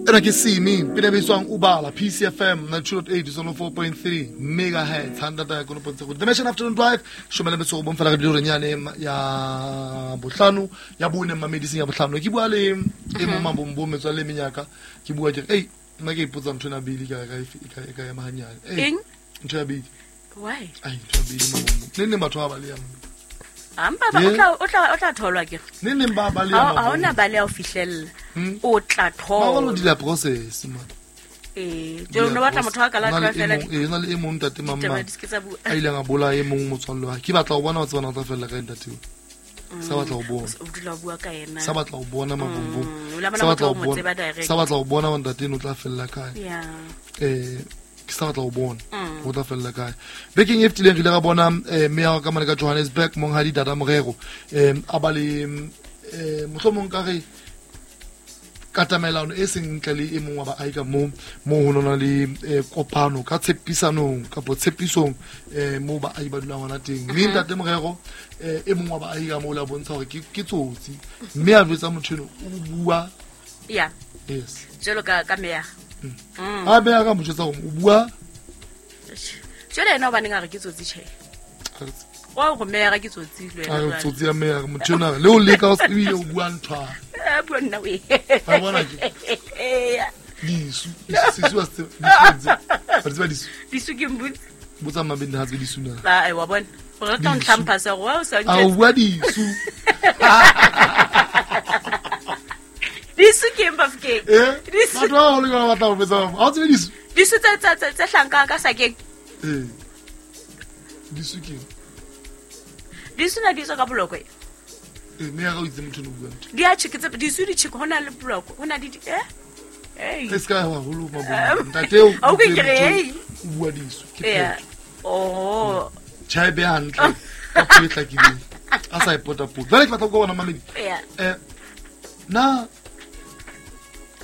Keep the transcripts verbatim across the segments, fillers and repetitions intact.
Ena ke Simi pina bitswang Ubala P C F M ninety-two point eight one oh four point three megahertz handata ya kono pontse go Dimension Afternoon Drive shomela metso go bonfela re dilo renyane ya bohlano ya bone mamediseng ya bohlano ke bua le e mo mabombo metswa le menyaka ke bua ke ei nna ke ipotsa ntho ena bili ka ka e ka ya mahanyane eng ntho ya bili why ai ntho ya bili mabombo ne ne batho ba ba le ya ampa ba o tla o tla o tla tholwa ke ne ne ba ba le ya ha ona ba le ya o fihlella o tla thola ba lo dila process man eh jalo no batla motho a ka la tla fela e na le e mong ntate mamma a ile nga bola e mong motswallo wa ke batla go bona o tsebana tla fella ka ntate o sa batla go bona o dula bua ka yena sa batla go bona mabombo sa batla go bona sa batla go bona ntate no tla fella kae yeah eh ke sa batla go bona go tla fella kae bekeng e fetileng re ile ra bona meya ka mane ka Johannesburg monghadi Dada Morero eh a ba le eh mohlomong ka re katamelano e seng ntle le e mong wa baahi ka mo mo ho nona le kopano ka tshepisanong kapo tshepisong eh mo baahi ba dulang hona teng mme ntate Morero e mong wa baahi ka mo la bontsha hore ke ke tsotsi mme a jwetsa motho eno o bua yeah yes jalo ka ka meya a be a ka mo jwetsa hore o bua jalo ena o baneng a re ke tsotsi tjhe wa go meya ke tsotsi le wena a tsotsi ya meya motho ena le o leka o sebile o bua ntho a bua nna we ba bona ke disu disu wa se disu ba disu disu ke mbutse botsa mabedi ha tse disu na ba ai wa bona o rata o ntlhampha sa go wa o sa ntse a bua disu disu ke mbafke disu batho ba le ba batla go betsa ha tse disu disu tse tse tse hlanka ka sakeng eh disu ke disu na disu ka boloko e me ya go itse motho no bua ntho di a chike tse disu di chike hona le boloko hona di eh hey e ska wa holo mabona ntate o o ke re o bua disu ke phetho oh chai be hantle ka puo e hlakileng a sa ipota pota jwale ke batla go bona mamedi eh na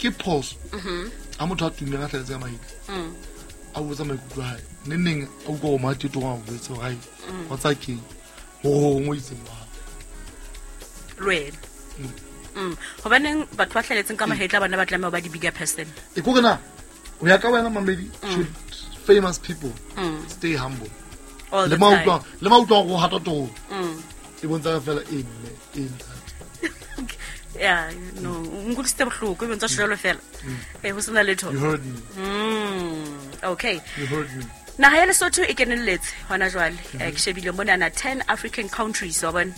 ke phoso mhm a motho a tumeng a hleletse ka mahitla mm a botsa maikutlo a hae ne neng a utlwa go matete go a botsa hore wa tsa keng ho ho itse wa lwena mm hobaneng batho ba hleletseng ka mahetla bana ba tlameha ba di bigger person e ko rena o ya ka wena mamedi should famous people mm. stay humble all le the time mautwa le mautwa go hata to mm e bontsha fela e mme e ntate yeah no nkutlwisitse bohloko e bontsha jalo fela eh ho sena letho you heard me mm okay you heard me naha ya Lesotho e kenelletse hona jwale ke shebile mona na ten African countries wa bona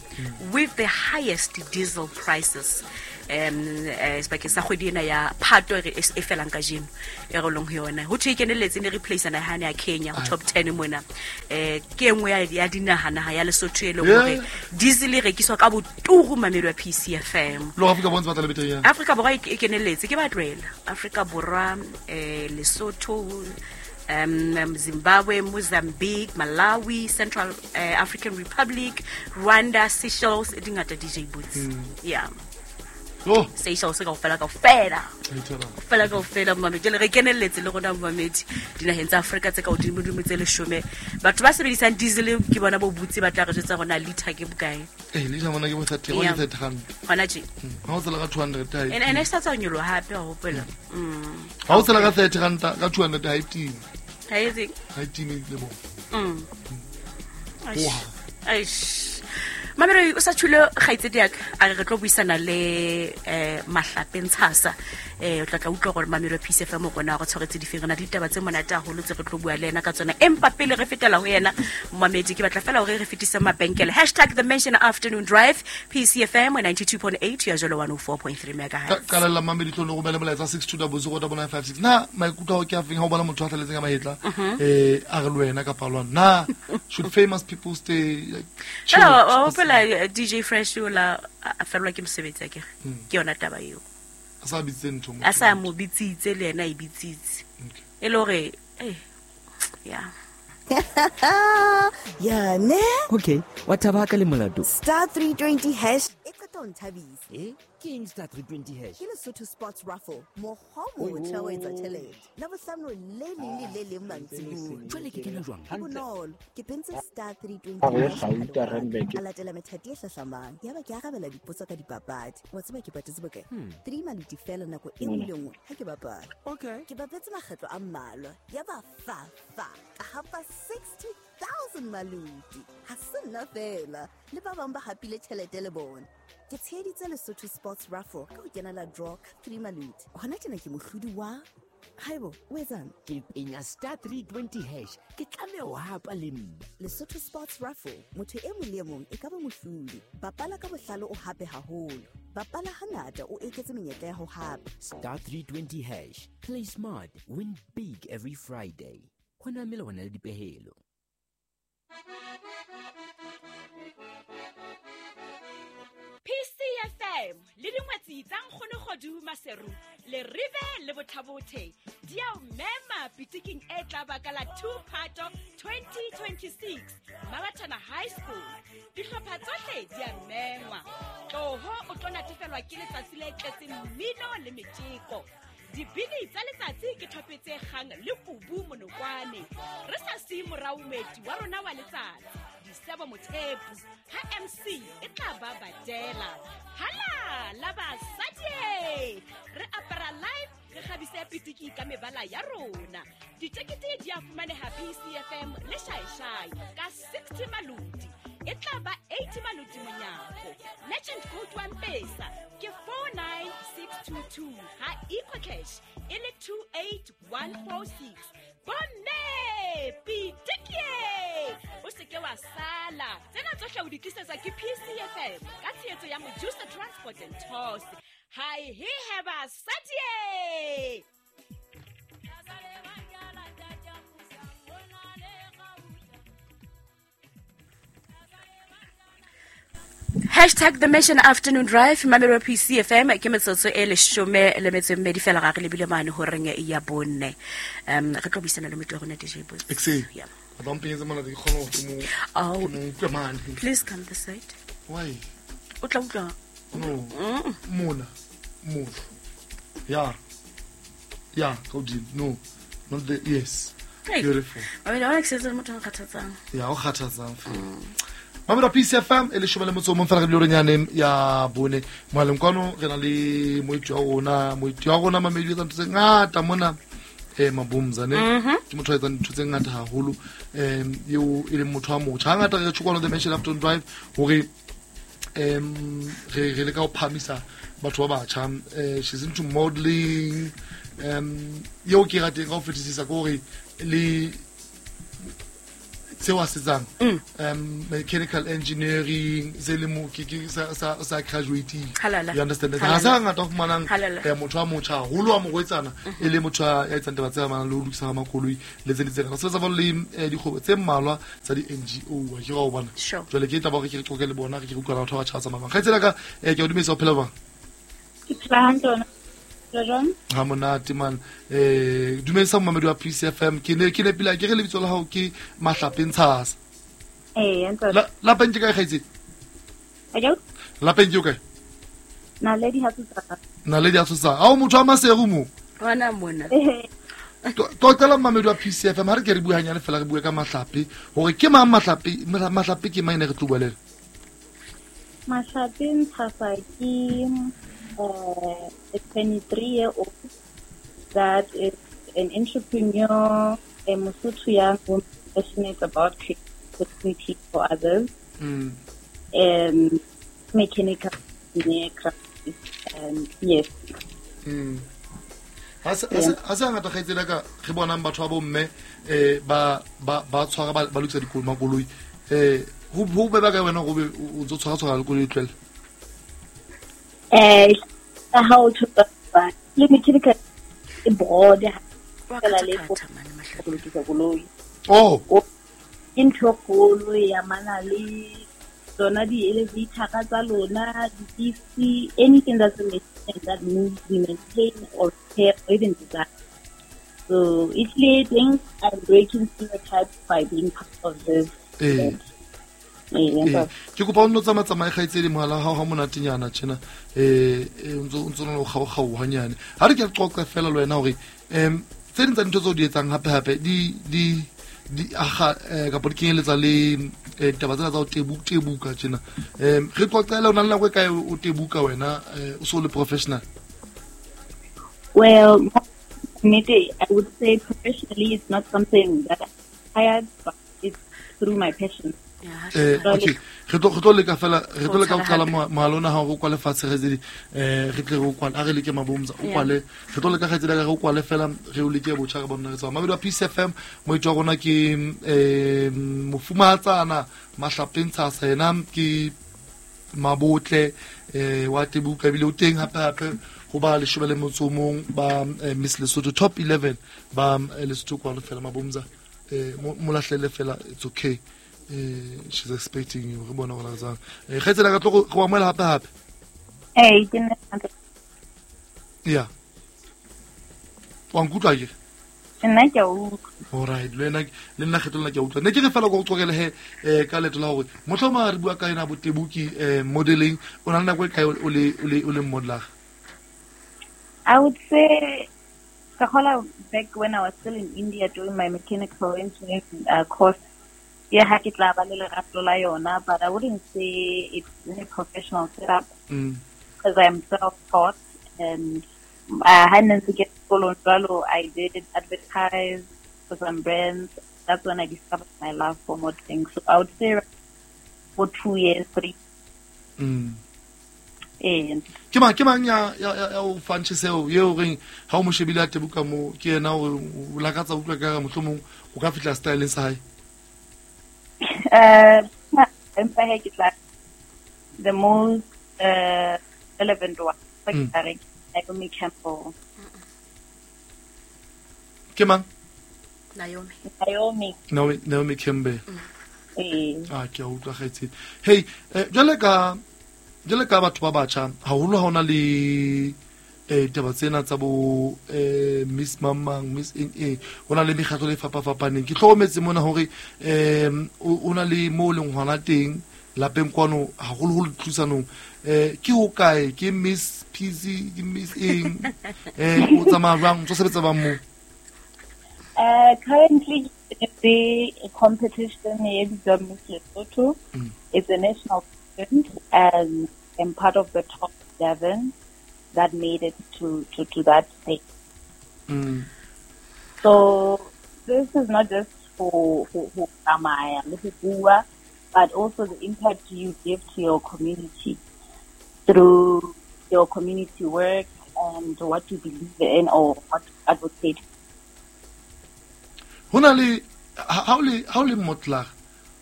with the highest diesel prices um sebakeng sa kgwedi ena ya Phato e felang kajeno e re leng ho yona ho thwe e kenelletse ne replace naha ya Kenya ho top ten mona eh ke engwe ya dinaha naha ya Lesotho e leng hore diesel e rekiswa ka boturu mamelo ya P C F M lo Afrika Borwa batla le beteng ya Afrika Borwa e kenelletse ke ba tlohela Afrika Borwa eh Lesotho Um, Zimbabwe, Mozambique, Malawi, Central uh, African Republic, Rwanda, Seychelles, dingata D J Boots. Mm. Yeah. Oh. Seychelles ka ofela ka ofela. Ofela ka ofela mamedi. Jwale re kenelletse le rona mamedi dinaheng tsa Afrika tse ka hodimo dimo tse leshome. Batho ba sebedisang diesel ke bona bo butse ba tla re jwetsa rona liter ke bokae. Eh liter mona ke bo thirty one thirty rand. Hona tje. Ha o tsela ka two hundred ha. Ene ene sa tsa nyoloha hape wa hopola. Mm. Ha o tsela ka thirty rand ka two hundred ha e timi. Ha e tseng. Ha e timi le bo. Mm. Eish. Mamelo o sa tshule kgaitsedi ya ka a re re tlo buisana le eh Mahlape Ntshasa eh o tla tla utlwa gore Mamelo P C F M rona go tshwaretse difeng rena ditaba tse monate haholo tse re tlo bua le yena ka tsona empa pele re fetela ho yena mamedi ke batla fela hore re fetise mabenkele hashtag the mention afternoon drive P C F M ninety-two point eight ya jolo one oh four point three megahertz ka la mamedi tlo no romela molaetsa six two zero zero nine five six na maikutlo a ke afeng ha o bona motho a hleletseng ka mahetla eh a re le wena kapa lwana na should famous people stay like chill? Hopola D J Fresh ola a fellwa ke mosebetsi akere ke yona taba eo a sa bitse ntho a sa mo bitsitse le yena e bitsitse e le hore eh yeah yeah ne okay wa thaba ka le molato star three twenty hash e qeta tla o nthabisa. Eh, ke eng star three twenty hash? Ke Lesotho Sports Raffle, mokgwa o motjha wa etsa tjhelete. Labohlano le leng le le leng mantsiboya. Jwale ke kena jwang? Ho bonolo. Ke pentse star three twenty hash. A latela methati e hlahlamang. Yaba ke arabela dipotso ka dipapadi. Wa tseba ke patetse bokae? Three maluti fela nako e nngwe le nngwe ha ke bapala. Okay. Ke bapetse makgetlo a mmalwa. Yaba fa fa ka hapa sixty thousand maluti. Ha se nna fela. Le ba bang ba hapile tjhelete le bona. Ke tsheheditse Lesotho Sports Raffle ka ho kenela draw ka three maluti. Hona tjena ke mohlodi wa Haibo, o etsang? Ke penya star three twenty hash. Ke tlameha ho hapa le nna. Lesotho Sports Raffle, motho e mong le e mong e ka ba mohlodi. Bapala ka bohlale o hape haholo. Bapala hangata o eketse menyetla ya ho hapa. Star three twenty hash. Play smart, win big every Friday. Hona melawana le dipehelo. P C F M le dingwetsi tsa Nkgono Kgodu Maseru le Rive le Bothabothe di a o mema pitiking e tla baka la two Phato twenty twenty-six Mabatana High School. Dihlopha tsohle di a mengwa. Tloho o tlo natefelwa ke letsatsi le tletseng mmino le metjeko. Dibini tsa letsatsi ke thope tse kgang le kubu monokwane. Re sa siye morao moeti wa rona wa letsatsi, Disebo Mothepu, ha M C e tla ba badela. Hala la basadi! Re apara live, re kgabise pitiki ka mebala ya rona. Ditekete di a fumaneha P C F M le Shaishai ka sixty maluti. E tla ba eighty maluti monyako. Legend code wa Mpesa ke four nine six two two ha EcoCash e le two eight one four six. Bomme pitiki! O se ke wa sala. Tsena tsohle o di tlisetswa ke P C F M ka tshehetso ya Mojusa Transport and Tours. Hi he he basadi! Hashtag The Mission Afternoon Drive, Mamelo P C F M, ke metsotso e leshome le metso e mmedi fela ga re lebile mane horeng ya bonne. Um, re tlo buisana le motho wa rona D J Boys. Exe. Yeah. Ba mpenyetse mona ke kgone hore ke mo Oh. ke mo utlwe mane. Please come this side. Why? O tla utlwa. No. Mm. Mona. Mona. Yeah. Yeah, ka hodimo. No. Not the yes. Hey. Beautiful. Mamelo, ha ke setse le motho a nkgathatsang. Yeah, o kgathatsang fela. Mamelo P C F M e leshome le motso o mong fela re bile hore ya bone. Mohaleng kwano re na le moeti wa rona, moeti wa rona mamedi o etsa ntho tse ngata mona eh Mabumza ne. Ke motho a etsang ntho tse ngata haholo em eo e leng motho wa motjha. Hangata re tjho kwano The Mission Afternoon Drive hore em re re leka ho phamisa batho ba batjha. Eh she's into modeling. Em eo ke rateng ka ho fetisisa ke hore le seo a se etsang um mechanical engineering se le mo ke ke sa sa sa graduating. Halala. You understand? Halala. Ha sa ngata ho fumanang Halala. eh, motho wa motjha haholo wa morwetsana e le motho ya etsang taba tse amanang le ho lokisa makoloi le tse ding tse ngata. Sebetsa jwalo le eh, dikgwebo tse mmalwa tsa di-N G O wa ke ra o bona. Sure. Jwale ke taba hore ke re qoqe le bona re ke re utlwa batho ba batjha ba tsamayang. Kgaitsedi ya ka eh, ke a o dumedisa, o phela jwang? Ke phela hantle wena. Phela jwang? Ha monate man. Eh dumedisa momamedi wa P C F M. Ke ne ke nepile ke re lebitso la hao ke Mahlape Ntshasa. Eh, ntate. La lapeng ke kae kgaitsedi? Ajo? Lapeng ke o kae? Naledi ha tsotsa. Naledi ha tsotsa. Ha o motho wa Maseru mo? Hona mona. Eh. Qoqela momamedi wa P C F M ha re ke re bua hanyane fela re bue ka Mahlape hore ke mang Mahlape, Mahlape ke mang ene re tlo bua le ena? Mahlape Ntshasa ke uh, a twenty-three-year-old that is an entrepreneur, a Mosotho young woman passionate about creating opportunities for others. Mm. Um, mechanical engineer, and yes. Mm. Ha se ha se ngata kgaitsedi ka re bonang batho ba bomme eh ba ba ba tshwara ba lokisa dikoloi makoloi eh ho ho be ba ka wena go be o ntso tshwara tshwara le koloi tlwele. Eh ha o tshwara le mechanical e broad Wa fela le kgatha-kgatha mane Mahlape. go lokisa koloi. Oh. Ke ntho e kgolo ya mana le tsona di-elevator tsa lona, di-lift, anything that's a machine that moves, we maintain or repair or even design. So if they think I'm breaking stereotypes by being part of this. Eh. Eh, ke kopa o nno tsamaya tsamaye kgaitsedi mohala wa hao ha monatenyana tjena eh o ntso o ntso o kgaokgao hanyane ha re ke re qoqe fela le wena hore em tse ding tsa dintho tseo di etsang hape hape di di di aga kapa di kenyeletsa le ditaba tsena tsa ho tebuka tebuka tjena em re qoqele o na le nako e kae o tebuka wena o so le professional? Well, maybe I would say professionally it's not something that I hired, but it's through my passion. Eh, okay re tlo re tlo leka fela re tlo leka ho qala mohala ona ha o kwale fatshe kgaitsedi eh re tle re o kwale a re leke mabomza o kwale re tlo leka kgaitsedi ka re o kwale fela re o leke botjha re bona re tswa mabedi wa Peace F M moitho wa rona ke eh mofumahatsana Mahlapeng Tshasa yena ke Mabotle eh wa tebuka ebile o teng hape hape ho ba leshome le motso o mong ba Miss Lesotho top eleven ba Lesotho kwalo fela mabomza eh mo lahlele fela it's okay. Eh, she's expecting you re bona hore jang eh kgaitsedi ka tlo go amohela hape hape eh ke nna yeah wa nkutlwa ke nna ke a utlwa. All right le nna le nna kgetho lena ke a utlwa ne ke re fela go qoqele he eh ka leto la hore mohloma re bua ka yena botebuki eh modeling o na le nako e kae o le o le o le modeler? I would say ka back when I was still in India doing my mechanical engineering uh, course. Yeah, ha ke tla ba le lerato la yona, but I wouldn't say it's a professional setup because mm. I'm self-taught and I hadn't to get sekolong jwalo. I did advertise for some brands. That's when I discovered my love for modeling. So I would say for two years, three. Mm. And ke mang ke mang ya ya ya o fang tjheseho eo reng ha o mo shebile a tebuka mo ke yena o lakatsa utlwa ka mohlomong o ka fihla styleng sa hae? Uh, the most uh, relevant one, like mm. Naomi Campbell. Ke mang? Naomi. Naomi. Naomi, Naomi Campbell. Mm. Ah, ke a utlwa kgaitsedi. Hey, jwale ka jwale ka batho ba batjha haholo ha ona le eh ditaba tsena tsa bo eh Miss Mamang Miss N A ho na le mekgatlo le fapafapaneng ke hlokometse mona hore em o na le mo leng hona teng lapeng kwano haholoholo thusanong eh ke ho kae ke Miss P C ke Miss eng eh o tsamaya jwang o tlo sebetsa bang mo? Uh, currently the competition e bitswa Miss Lesotho. Mm. It's a national event and I'm part of the top seven that made it to, to, to that stage. Mm. So this is not just for for for tsamaya le ho bua, but also the impact you give to your community through your community work and what you believe in or what you advocate. Hona le ha o le ha o le motla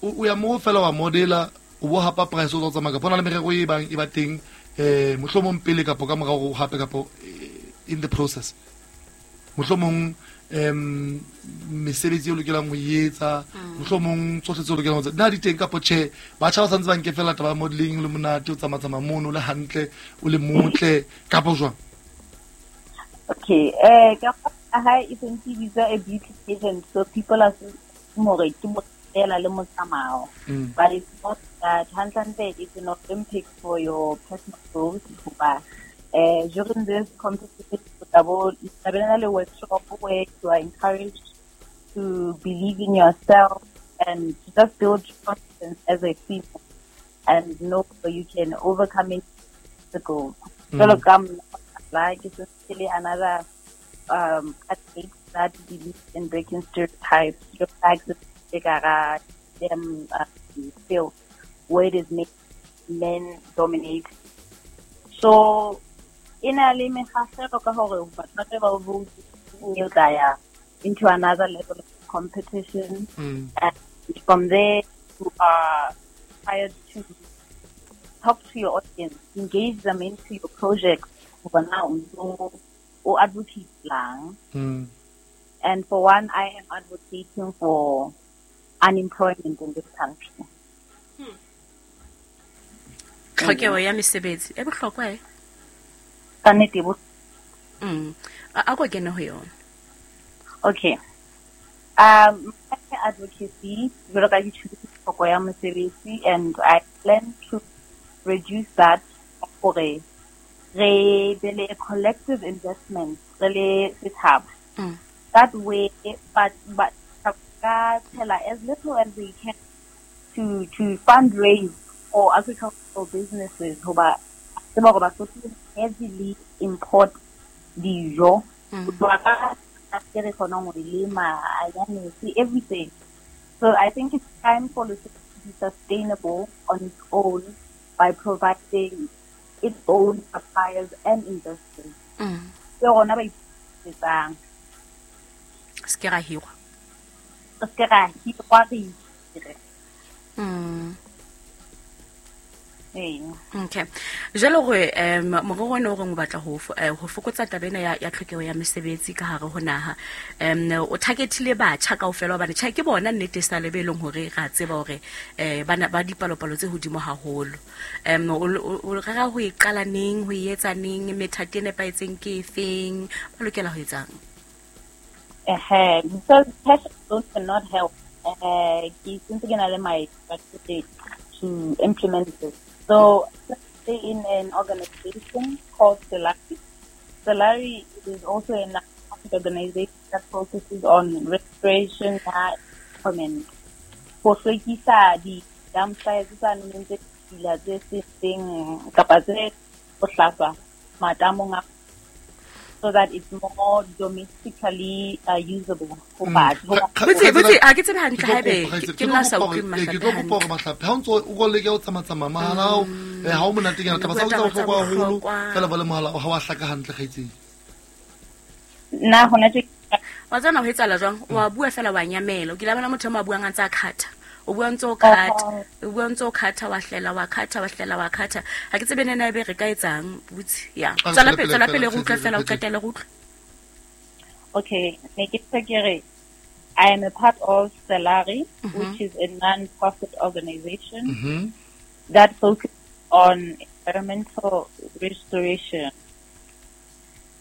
o ya mo fela wa modela o bo hapa price o tsamaya ka bona le merero e bang e ba teng eh mohlomong pele kapo ka morao hape kapo in the process mohlomong em mesebetsi e lokelang ho etsa mohlomong tsohle tse lokelang ho etsa na di teng kapo tjhe batjha ba santse ba nke fela taba modeling le monate o tsamaya tsamaya mono le hantle o le motle kapo jwang? Okay, eh ka ha e sentse bitsa a beauty pageant, so people are more ke mo fela le motsamao, but it's not that. Hantlante it's an Olympic for your personal growth. Hoba eh during this competition le workshop where you are encouraged to believe in yourself and to just build confidence as a female and know you can overcome any obstacle. Mm. Like it's really another um athlete that believes in breaking stereotypes, stereotypes them uh, field where it is made men dominate. So in a le mekgahlelo ka hore batho ba ba vote ya into another level of competition. Mm. And from there you are required to talk to your audience, engage them into your project or advocate lang. Mm. And for one, I am advocating for unemployment in this country. Hmm. Tlhokeho ya mesebetsi e bohlokwa e? Ka nnete bo. Mm. A ko kene ho yona. Okay. Um, my advocacy, jwalo ka ke tjhudise tlhoko ya mosebetsi, and I plan to reduce that gore re be le a collective investment re le setjhaba. Mm. That way, but but ka tshela as little as we can to to fundraise for agricultural businesses hoba tseba hore Basotho heavily import dijo. Mm. Ho tloha ka tse re kgonang ho di lema, anyanisi, everything. So I think it's time for Lesotho to be sustainable on its own by providing its own suppliers and investors. Mm. Ke rona ba ipusetsang. Se ke ra hirwa. Se ke ra hirwa, re itire. Mm. Ee. Okay. Jwale gore um morero ona o reng o batla ho fo- eh, ho fokotsa taba ena ya ya tlhokeho ya mesebetsi ka hare ho naha. Um o targetile batjha kaofela hobane tjhe ke bona nnete sa lebe leng hore ra tseba hore eh bana ba dipalopalo tse hodimo haholo. Um o o- o rera ho e qala neng, ho e etsa neng, methati e nepahetseng ke efeng, ba lokela ho etsang? Ehe, because cash alone cannot help. Eh, ke sentse ke na le my strategy to implement this. So, in an organization called Solari. Solari is also a non-profit organization that focuses on restoration ya environment. Ho hlwekisa di-dump sites tsa neng tse ditshila tse setseng kapa tse bohlaswa matamong a, so that it's more domestically uh, usable ho batho. Kga- kga- Botse kgaitsedi- botse ha ke tsebe hantle Ke tlo haebe kopa, ke kgaitsedi, ke nna ke sa tlo utlweng kopa hore- eh, Mahlape ke tlo kopa hantle. hore Mahlape ha o ntso o ko leke ho tsamatsamaya mohala wa hao, eh, ha o monatenyana taba tsa Bua tsa taba tsa bohlokwa haholo bohlokwa. fela ba le mohala ha wa hlaka hantle kgaitsedi. Nna hona tje Wa tseba ho etsahala jwang? Wa bua fela wa nyamela. O kile wa bona motho e mong a buang a ntse a khatha. O bua ntse o khatha. O bua ntse o khatha, wa hlela, wa khatha, wa hlela, wa khatha. Ha ke tsebe nena ebe re ka etsang, butsi. Ya. A re Tswela tswele pele, pele tswela fela, pele re utlwe kgaitsedi, fela, o re phete. qetelle re utlwe. Okay, ne ke se ke re I am a part of Solari, which is a non-profit organization Mhm. that focuses on environmental restoration.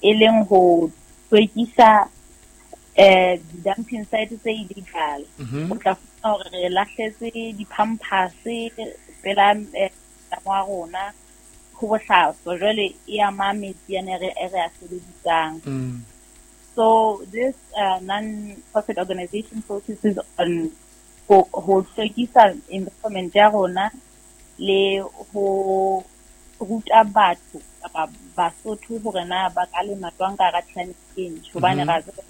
E leng ho hlwekisa eh di-dumping site tse illegal. Mhm. O tla fumana hore re lahletse di-pampers pela eh, matamo a rona ho bohlaswa. Jwale e ama metsi ane re e re a sebedisang. Mm. So this uh, non-profit organization focuses on ho ho hlwekisa environment ya rona le ho ruta batho kapa Basotho hore na ba ka lema jwang ka hara climate change. Hobane Mhm. ra tseba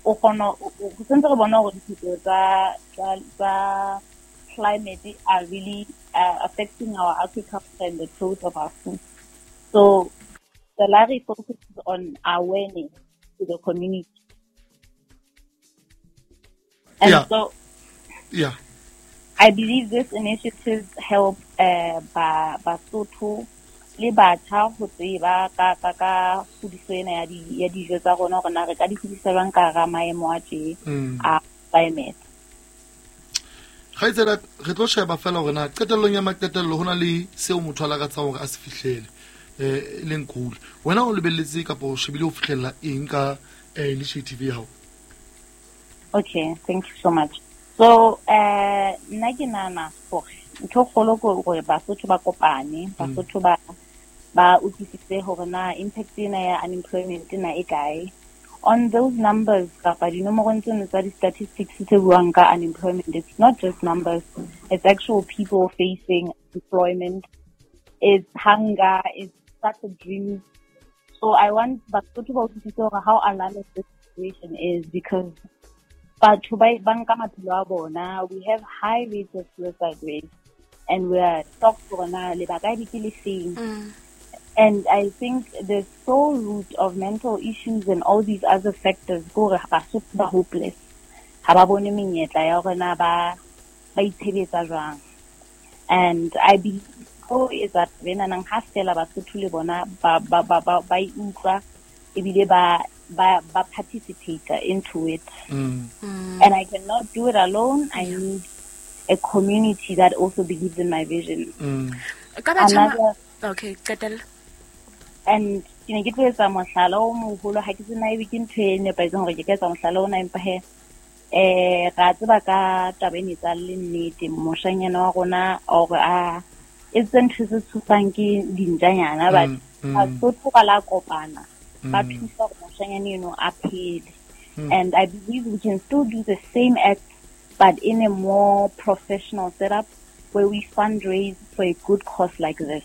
o kgona o o- sentse re bona hore diphetoho tsa tsa tsa climate are really uh, affecting our agriculture and the growth of our food. So Solari focuses on awareness to the community. And Yeah. so Yeah. I believe this initiative help uh, ba Basotho le batjha ho tseba ka ka ka kgodiso ena ya di ya dijo tsa rona hore na re ka di hodisa jwang ka hara maemo a tje Mm. a climate. Kgaitsedi, re tlo sheba fela hore na qetellong ya maqetello ho na le seo motho a lakatsang hore a se fihlele eh e leng goal. Wena o lebelletse kapa o shebile ho fihlella eng ka eh, initiative ya hao? Okay, thank you so much. So, eh nna ke nahana hore ntho e kgolo ke hore Basotho ba kopane, Basotho ba ba utlwisise hore na impact ena ya unemployment ena e kae. On those numbers kapa dinomorong tseno tsa di-statistics tse buang ka unemployment, it's not just numbers, it's actual people facing employment, it's hunger, it's such a dream. So I want Basotho ba utlwisise hore how alarming this situation is, because batho ba ba nka maphelo a bona. We have high rates of suicide rates and we are shocked hore na lebaka ebe ke le feng. Mm. And I think the sole root of mental issues and all these other factors ke hore Basotho ba hopeless. Ha ba bone menyetla ya hore na ba ba itshebetsa jwang. And I believe ho etsa taba enana ha fela Basotho le bona ba ba ba ba ba e utlwa ebile ba ba ba participate into it. Mm. And I cannot do it alone. I need a community that also believes in my vision. Mm. Ka batjha ma- Another Okay, qetella. And ke ne ke tlo etsa mohlala o moholo, ha ke tsena ebe ke ntho e nepahetseng hore ke ka etsa mohlala ona, empa he Eh ra tseba ka taba ene tsa le nnete moshanyana wa rona or a e tsentse se tshosang ke dintjanyana but Basotho ba la kopana ba thusa gore moshanyana eno a phele. And I believe we can still do the same act but in a more professional setup where we fundraise for a good cause like this.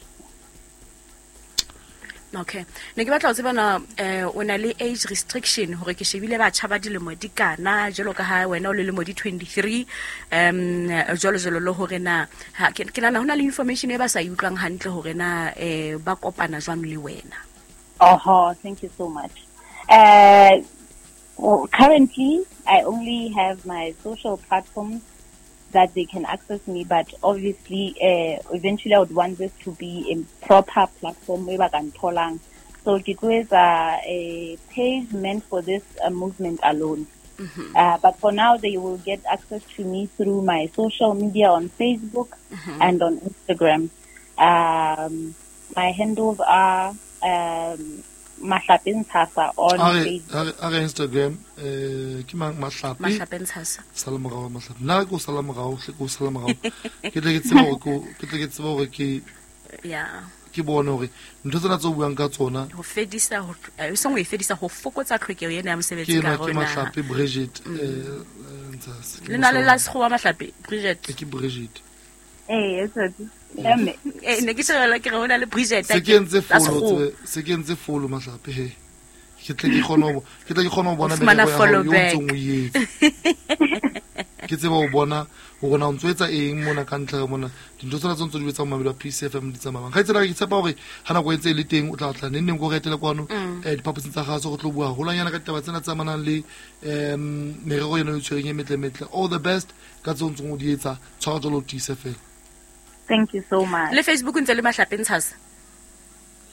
Okay. Ne ke batla ho tseba na eh o na le age restriction hore ke shebile batjha ba dilemo di kana jalo ka ha wena o le lemo di twenty-three um jalo jalo le hore na ke nahana hona le information e ba sa e utlwang hantle hore na eh ba kopana jwang le wena. Oh, thank you so much. Uh well, currently I only have my social platforms that they can access me, but obviously uh, eventually I would want this to be a proper platform where I can tholang. So it is a, a page meant for this uh, movement alone. Mm-hmm. Uh, but for now, they will get access to me through my social media on Facebook mm-hmm. and on Instagram. Um, my handles are um, Mahlape Ntshasa on Facebook. Are Instagram eh ke mang Mahlape Mahlape Ntshasa sala morao Mahlape nna ke o sala morao hle ke o sala morao ke tle ke tsebe hore ke ke tle ke tsebe hore ke yeah ke bone hore ntho tsena tse o buang ka tsona ho fedisa ho e seng ho e fedisa ho fokotsa tlhokeho ena ya mosebetsi ka rona ke Mahlape Bridget eh Ntshasa le na le la sekgowa Mahlape Bridget ke Bridget eh it's a Mme eh ne ke shebela ke re hona le Bridget se ke ntse follow se ke ntse follow Mahlape he ke tle ke kgone ho ke tle ke kgone ho bona merero ya hao yo ntsong o etsa ke tseba ho bona hore na o ntso etsa eng mona ka ntle mona dintho tsena tse ntse di etsa mamelo a P C F M di tsamayang ga tsela ke tshepa hore ha nako e ntse e le teng o tla tla neng neng go re etele kwano eh diphaposing tsa gaso go tlo bua holanyana ka ditaba tsena tse amanang le em merero yona e tshwereng e metle metle. All the best ka tse ntsong o di etsa tshwara jalo tiise fela. Thank you so much. Le Facebook ntse le Mahlape Ntshasa.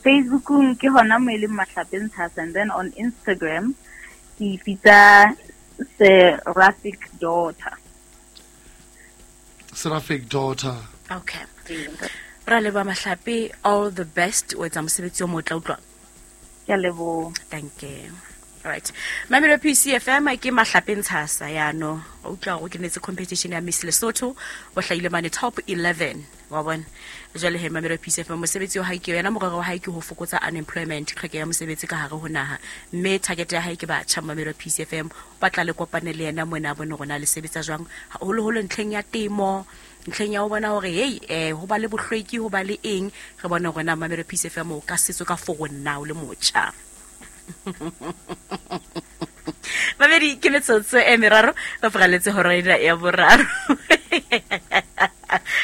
Facebook ke hona mo e leng Mahlape Ntshasa, and then on Instagram ke ipitsa Seraphic Daughter. Seraphic Daughter. Okay. Ra leba Mahlape, all the best o etsa mosebetsi o motle utlwa. Ke a leboha. Thank you. All right. Mamelo P C F M ke Mahlape Ntshasa yano. O utlwa go kenetse competition ya Miss Lesotho o hlahile mane top eleven. Wa bona. Jwale he Mamelo P C F M mosebetsi wa hae ke yena morero wa hae ke ho fokotsa unemployment tlhokeho ya mosebetsi ka hare ho naha. Mme target ya hae ke batjha Mamelo P C F M ba tla le kopane le yena mona bone rona le sebetsa jwang haholoholo ntlheng ya temo ntlheng ya ho bona hore hey eh ho ba le bohlweki ho ba le eng re bona rona Mamelo P C F M o ka setso ka for nna o le motjha. Mamedi ke metsotso e meraro ba fraletse hora ena ya boraro.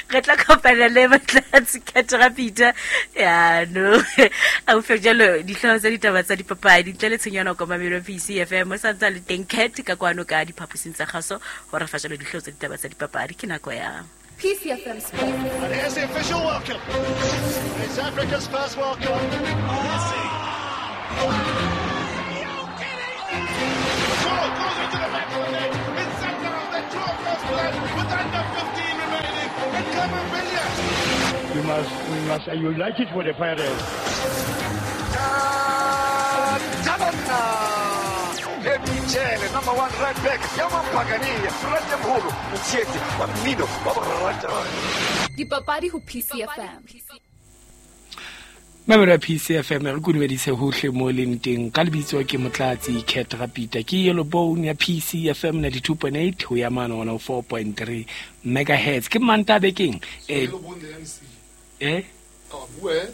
Re tla kopana le Motlatsi Katrapita ya no a ufe jalo dihlooho tsa ditaba tsa dipapadi ntle le tshenyana ko Mamelo P C F M o santsa le teng cat ka kwano ka diphaposing tsa kgaso hore fa jalo dihlooho tsa ditaba tsa dipapadi ke nako ya P C F M Sports. And here's the official welcome. It's Africa's first World Cup. Messi. Goes into the back of the net. It's Sundowns that draw first blood with under fifteen remaining. And Camavinga. We must, we must unite it for the Pirates. Number one right back. Yaman Pagani, Rajamhulu, Mtsieti, Mino, Dipapadi ho P C F M. Mamelo P C F M re kudumedise hohle mo leng teng ka lebitso ke Motlatsi Cat Rapita ke Yellow Bone ya P C F M ninety-two point eight ho ya mane one oh four point three megahertz ke manta bekeng eh Yellow Bone the M C eh ah bue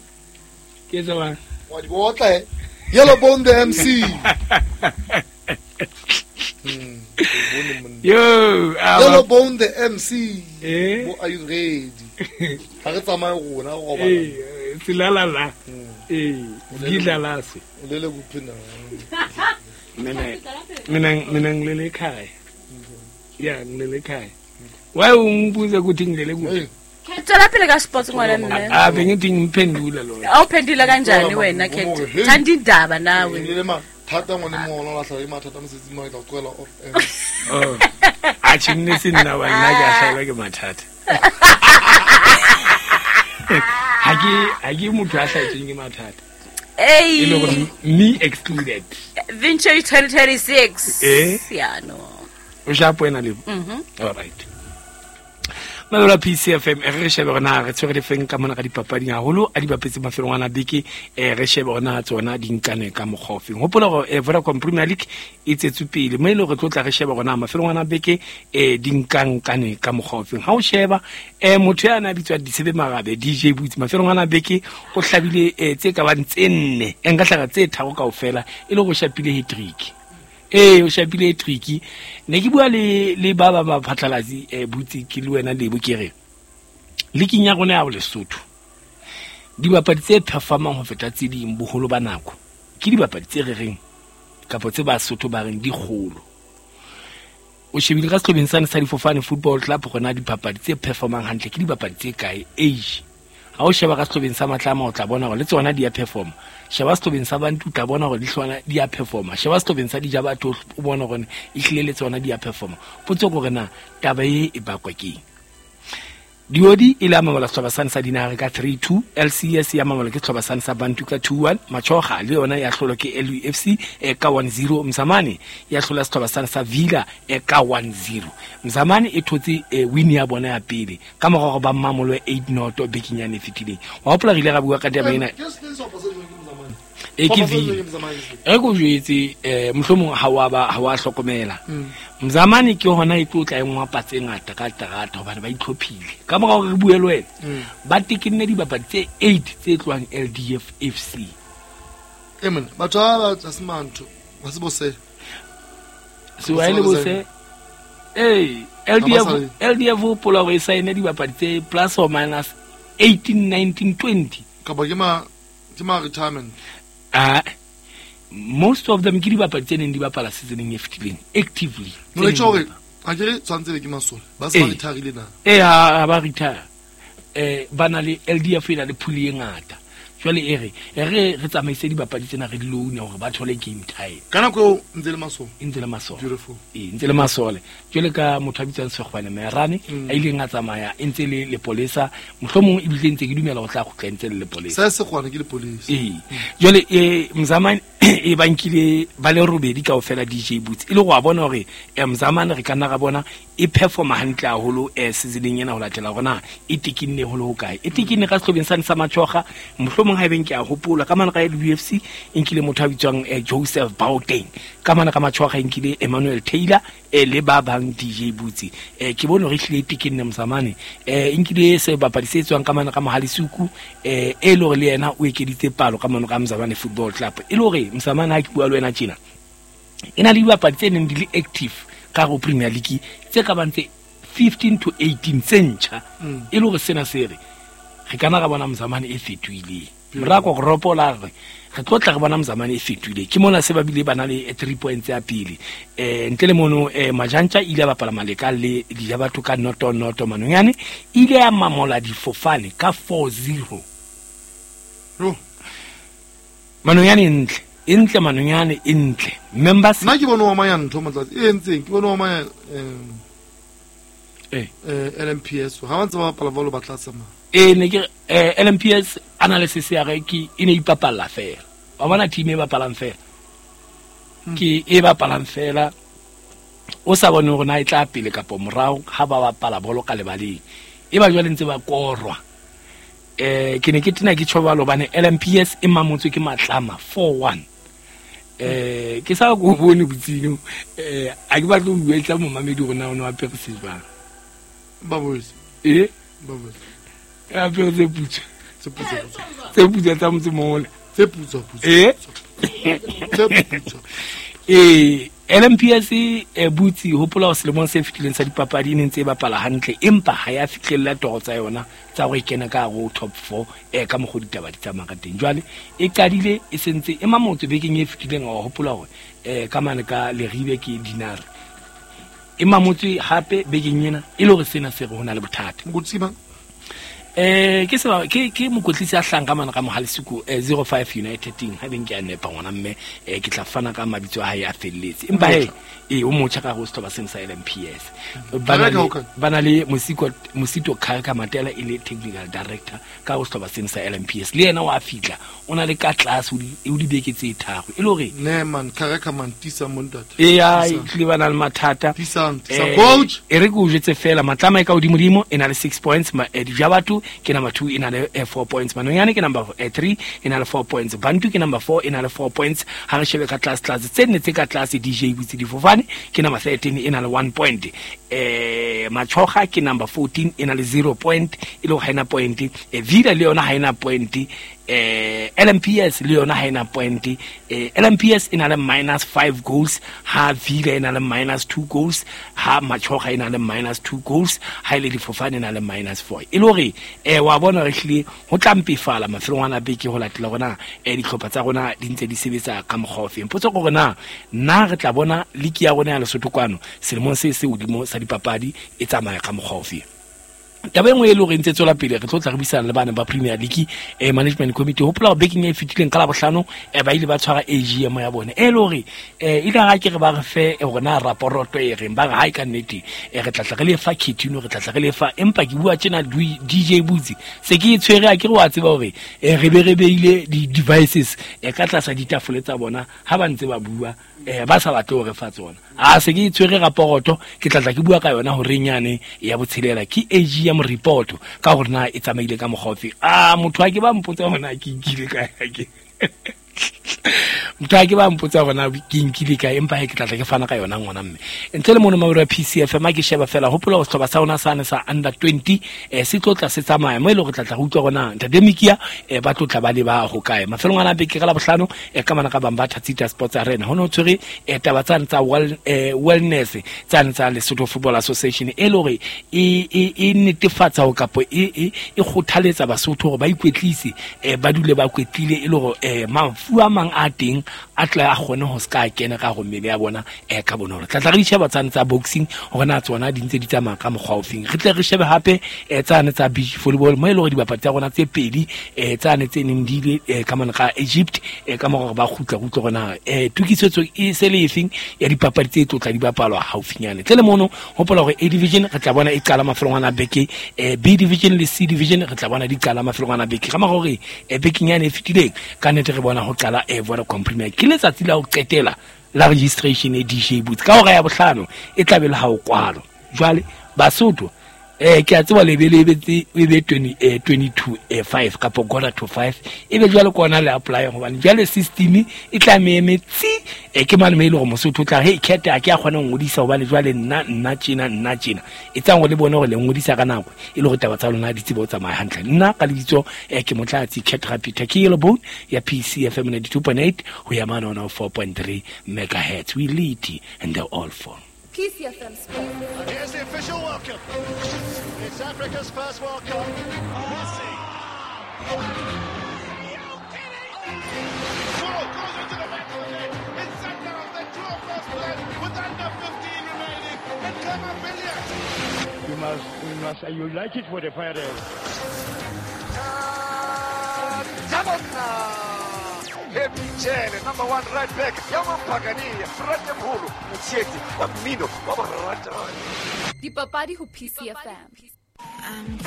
ke tswa wa di botla eh Yellow Bone the M C. Hmm, yo, Yellow Bone the M C. Eh? Bo, are you ready? Ha re tsamaye rona go robala. Eh, tsilala la. Eh, gidlala se. O lele kuphi na? Mina mina mina ngilele ekhaya. Yeah, ngilele ekhaya. Why ungibuza ukuthi ngilele kuphi? Tswela pele ka sports ngwana mme. Ah, bengithi ngiphendula lona. Awuphendula kanjani wena Cat? Thanda indaba nawe. Ngilele ma thata ngwane mo ona la hlala mathata mosetsing mo ke tla tlohela off air. Oh. A tjhinne se nna wa nna ke a hlaelwa ke mathata. Ha ke ha ke motho a hlaetsweng ke mathata. Hey. E le hore me excluded. Venture twenty twenty-six. Eh? Yeah, no. O shapo wena Lebo. Mhm. All right. Malola P C F M re shebe rona re tshwere difeng ka mona ka dipapading haholo a di bapetse mafelong ana beke eh re shebe rona tsona di nkane ka mokgwa ofeng. Hopola hore eh, Vodacom Premier League e tsetswe pele mo e le hore re tlo tla re shebe rona mafelong ana beke eh di nkankane ka mokgwa ofeng. Ha o sheba eh motho ya na bitswa Disebe Marabe D J Boots mafelong ana beke o hlabile eh, tse ka bang tse nne e nka hlaga tse tharo kaofela e le go shapile hat-trick. Eh o shapile tricky ne ke bua le le ba ba ba phatlalatsi eh butsi ke le wena Lebo ke re leaking ya rona ya Lesotho dibapadi tse performang ho feta tse ding boholo ba nako ke dibapadi tse re reng kapa tse Basotho ba reng di kgolo. O shebile ka sehlobeng sane sa Difofane Football Club rona dipapadi tse performang hantle ke dibapadi tse kae age. Ha o sheba ka sehlobeng sa Matlama o tla bona hore le tsona di a performa. Sheba sehlobeng sa Bantu o tla bona hore di hlwana di a performa. Sheba sehlobeng sa Dijabatho o bona hore e hlile le tsona di a performa. Potso ke hore na taba e e bakwa keng. Diodi e la mamola sehlopha sane sa Dinare ka three two, L C S ya mamola ke sehlopha sane sa Bantu ka two one, Machoga le yona ya hlolwa ke L U F C eh, ka one zero, Mzamane ya hlola sehlopha sane sa Villa eh, ka one zero. Mzamane e thotse eh, win ya bona ya pele ka mora hore ba mamolwe eight noto bekeng yane e fetileng. Wa hopola re ile ra bua ka taba ena. E ke Villa. E ko jwetse eh mohlomong ha wa ba ha wa hlokomela. Mzamane ke hona e tlo tla e ngwapa tse ngata ka terata hobane ba itlhophile. Ka mora hore re bue le wena ba tekenne dibapadi tse eight tse tlohang L D F F C. E mona batho ba ba se mantho ba se bose. Se wa ile bose. Eh L D F L D F hopola hore e saene dibapadi tse plus or minus eighteen nineteen twenty. Kapa ke ma ke ma retirement. Ah, most of them ke dibapadi tse neng di bapala seasoneng e fetileng actively. No le tjho hore ha ke re tshwantse be ke masole ba se ba retirile na. Eh ha ba retire. Eh ba na le L D F e na le pool e ngata. Jwale e re e re re tsamaise dibapadi tsena re di loan hore ba thole game time. Ka nako eo ntse le masole. Ntse le masole. Beautiful. Eh ntse le masole. Jwale ka motho a bitswang Sekgwane Merane a ileng a tsamaya e ntse le lepolesa mohlomong ebile ntse ke dumela ho tla kgutla ntse le lepolesa. Sa Sekgwane ke lepolesa. Eh jwale eh Mzamane e bankile ba le robedi kaofela D J Boots e le go a bona hore Mzamane re ka nna ra bona e performa hantle haholo eh seasoneng ena ho latela hore na e tekinne ho le ho kae. E tekinne ka sehlobeng sane sa Machoga mohlomong ha ebeng ke a hopola ka mana ka L U F C e nkile motho a bitswang Joseph Bauteng ka mana ka Machoga e nkile Emmanuel Taylor eh le ba bang D J Boots eh ke bone hore ehlile e tekinne Mzamane eh e nkile sebapadi se tswang ka mana ka Mohalisuku eh e le hore le yena o ekeditse palo ka mana ka Mzamane Football Club e le hore Mzamane ha ke bua le wena tjena e na le dibapadi tse neng di le active ka go Premier League tse ka bang tse fifteen to eighteen tse ntjha e le hore sena se re re kana ra bona Mzamane e fetohileng. Morako ropola re re tlo tla re bona Mzamane e fetohile ke mona se ba bile ba na le three points ya pele eh ntle le mono eh Majantja ile a bapala Maleka le Dijabatho ka noto noto Manonyane ile ya mamola Difofane ka four zero. Ro Manonyane ntle e ntle Manonyane e ntle members nna ke bone wa manya ntho motlatsi e entseng ke bone wa manya eh eh L M P S ha ba ntse ba bapala bolo ba tla tsamaya e ne ke eh, L M P S analysis ya re ke e ne ipapalla fela wa bona team e bapalang fela ke e bapalang fela o sa bone hore na e tla pele kapa morao ha ba bapala bolo ka lebaleng e ba jwale ntse ba korwa eh ke ne ke tena ke tjhobalo hobane L M P S e mamotswe ke Matlama four one eh ke sa go bone botsino eh a ke batle ho buetsa momamedi hore na o ne wa apere se jwang ba boetse eh ba boetse a apere tse putswa tse putswa tse putswa tsa motse mole tse putswa putswa eh tse putswa eh L M P S e butsi hopola ho selemong se fetileng sa dipapadi e ne ntse e bapala hantle empa ha ya fihlella toro tsa yona tsa go ikena ka go top four eh ka mokgo ditaba di tsamaya ka teng. Jwale e qadile e sentse e mamotse bekeng e fetileng wa hopola hore eh ka mane ka Leribe ke Dinare e mamotse hape bekeng ena e le hore sena se re hona le bothata. Mokotsi mang? Eh ke seba ke ke mokotlisi a hlang ka mana ka Mohalesiku zero five United team ha beng ke a nepa ngwana mme eh ke tla fana ka mabitso a hae a felletse empa he e o motjha ka go sethoba seng sa L M P S bana bana le Mosiko Mosito Khareka Matela e le technical director ka go sethoba seng sa L M P S le yena wa fitla o na le ka tlase o di beke tse tharo e le hore ne man Khareka man tisa montate e ya tlile bana le mathata tisa tisa coach e re go jetse fela matlama e ka godimo dimo e na le six points ma Dijabatu ke number two e na le four points Manonyane ke number three e na le four points Bantu ke number four e na le four points ha re shebe ka class class tse nne tse ka class D J butse difofane ke number thirteen e na le one point eh Machoga ke number fourteen e na le zero point e le ha ena point e Vida le yona ha ena point eh L M P S le yona ha ena point eh L M P S e na le minus five goals ha Vida e na le minus two goals ha Machoga e na le minus two goals ha ile difofane e na le minus four e le hore eh wa bona re hlile ho tla mpefala mafelong a beke ho latela rona eh dihlopha tsa rona di ntse di sebetsa ka mokgwa o feng potso gore na nna re tla bona liki ya rona ya Lesotho kwano selemong se se hodimo sa dipapadi e tsamaya ka mokgwa o feng taba e nngwe e le hore ntse tswela pele re tlo tla re buisana le bana ba Premier League eh management committee hopola hore bekeng e fetileng ka Labohlano eh ba ile ba tshwara A G M ya bone e le hore eh ile ha ke re ba re fe hore na raporoto e reng ba re ha e ka nnete eh re tla tla re le fa Ketino re tla tla re le fa empa ke bua tjena D J Butsi se ke e tshwere a ke re wa tseba hore eh re be re beile di devices eh ka tlasa ditafole tsa bona ha ba ntse ba bua eh ba sa batle hore fa tsona a se ke tshwere raporoto ke tla tla ke bua ka yona hore nyane ya botshelela ke A G M report ka hore na e tsamaile ka mokgwa a motho a ke ba mpotsa hona ke nkile ka ke motho a ke ba mpotsa hona ke nkile ka empa he ke tla tla ke fana ka yona ngwana mme ntle le mono mabelo ya P C F M a ke sheba fela hopola ho setlhoba sa rona sane sa under twenty eh se tlo tla se tsamaya mo e le hore tla tla re utlwa hona ntate Mikia eh ba tlo tla ba le ba ho kae mafelong ana beke ka Labohlano eh ka mana ka bang ba Thatsita Sports Arena ho no tshwere eh taba tsane tsa well eh wellness tsane tsa Lesotho Football Association e le hore e e e netefatsa ho kapo e e e kgothaletsa Basotho hore ba ikwetlise eh ba dule ba kwetlile e le hore eh mafu a mang a teng a tla a kgone ho ska kena ka go mmele ya bona eh ka bonolo tla tla re sheba tsane tsa boxing hore na tsona di ntse di tsamaya ka mokgwa o feng re tle re shebe hape eh tsane tsa beach volleyball mo e le hore dibapadi tsa rona tse pedi eh tsane tse neng di ile ka mona ka Egypt eh ka mora ba kgutla kgutla rona eh tokisetso e se le efeng ya dipapadi tse tlotla di bapalwa haufinyane tle le mono hopola hore A division re tla bona e qala mafelong a beke eh B division le C division re tla bona di qala mafelong a beke ka mora hore eh bekenyane e fetileng ka nnete re bona ho qala eh Vodacom Premier ke letsatsi la ho qetela la registration e D J Booth ka hora ya bohlano e tla be le ha o kwalo jwale Basotho eh ke a tseba lebelebe tse e be twenty eh twenty-two eh five kapa quarter to five e be jwale kona le apply hobane jwale system e tla meme tsi e ke mane me ile go Mosotho tla he khetha ke a kgona ho ngodisa hobane jwale nna nna tjena nna tjena e tsang go le bone hore le ngodisa ka nako e le go taba tsa lona di tsebo tsamaya hantle nna ka lebitso eh ke Motlatsi Cat Rapita ke Yellow Bone ya P C F M ninety-two point eight ho ya mane ona four point three megahertz we lead and they're all for P C F M Sports. And here's the official welcome. It's Africa's first World Cup. Messi. Ball goes into the back of the net. It's center of the two of first blood with under fifteen remaining. And Clement Billiard. We must, we must unite it for the Pirates. Michele, number one right back, Yamampagani, Frate Mhulu, Mtsieti, wa mmino, wa barata. Dipapadi ho P C F M.